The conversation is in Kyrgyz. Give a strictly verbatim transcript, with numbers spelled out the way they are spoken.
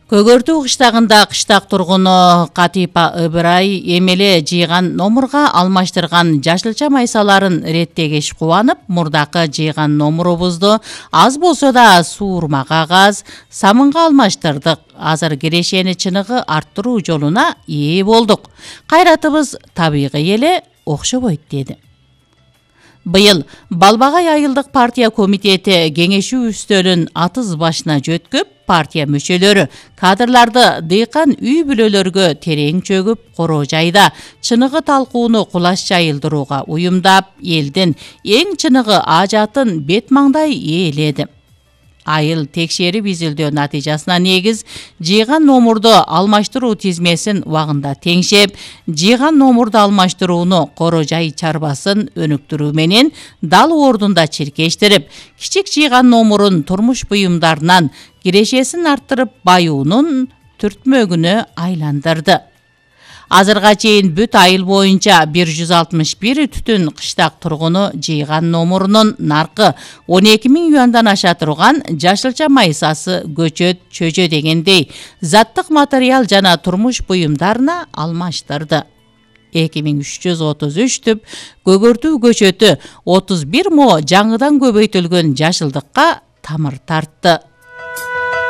Көгөртүү кыштагында кыштак тургуну Катипа Ыбырай эмеле жыйган номурга алмаштырган жашылча майсаларын реттегеш кубанып, мурдакы жыйган номурубузду аз болсо да суурма кагаз, самынга алмаштырдык. Азыр кирешени чыныгы арттыруу жолуна ээ болдук. Кайратыбыз табигый эле окшобойт деди. Быйыл Балбагай айылдык партия комитети кеңешүү үстөлүн атыз башына жөткөп, партия мүчөлөрү кадрларды дыйкан үй бүлөлөргө терең чөгүп, короо жайда чыныгы талкууну кулаш жайылдырууга уюмдап, элдин эң чыныгы ажатын бет маңдай ээледи. Айыл текшерип изилдөө натыйжасына негиз жыйган номурду алмаштыруу тизмесин убагында теңшеп, жыйган номурду алмаштырууну короо жай чарбасын өнүктүрүү менен дал ордунда чиркештирип, кичик жыйган номурун турмуш буюмдарынан кирешесин арттырып, баюунун түртмөгүнө айландырды. Азырга чейин бүт айыл боюнча бир жүз алтымыш бир түтүн кыштак тургуну жыйган номурунун наркы он эки миң юандан аша турган жашылча майсасы, көчөт, чөжө дегендей заттык материал жана турмуш буюмдарына алмаштырды. эки миң үч жүз отуз үч түп көгөртүү көчөтү отуз бир мо жаңыдан көбөйтүлгөн жашылдыкка тамыр тартты.